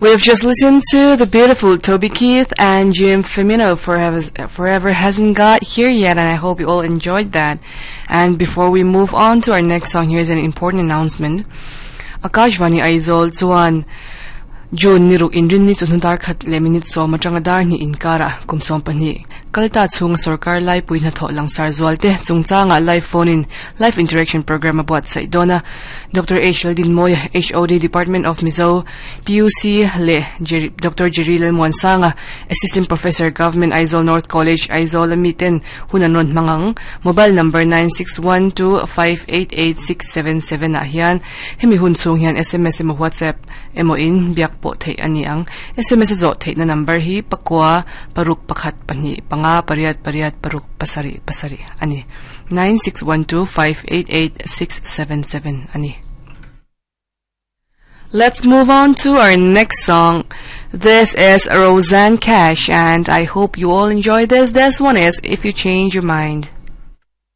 We've just listened to the beautiful Toby Keith and Jim Femino Forever, Forever Hasn't Got Here Yet, and I hope you all enjoyed that. And before we move on to our next song, here's an important announcement. Akashvani Aizawl chuan June ni ruk inrinni chawhnu dar khat leh minute sawm atanga dar hnih inkarah kum 12 kalta chhunga sorkar laipui hnathawh langsar zualte chungchangah live phone in live interaction program a buatsaih dawn a. Doctor H Laldinmawia, HOD Department of Mizo, PUC leh Jerry Doctor Jerry Lalmuansanga, Assistant Professor Government Aizawl North College, Aizawl a miten hun an rawn hmang ang. Mobile number 9612588677 ah hian hemi hun chhung hian sms emaw WhatsApp emaw in biak pawh theih a ni ang. Sms a zawh theihna number hi pakua paruk pakhat pahnih panga pariat pariat paruk pasarih pasarih a ni. 9612588677 a ni. Let's move on to our next song. This is Rosanne Cash and I hope you all enjoy this. This one is If You Change Your Mind.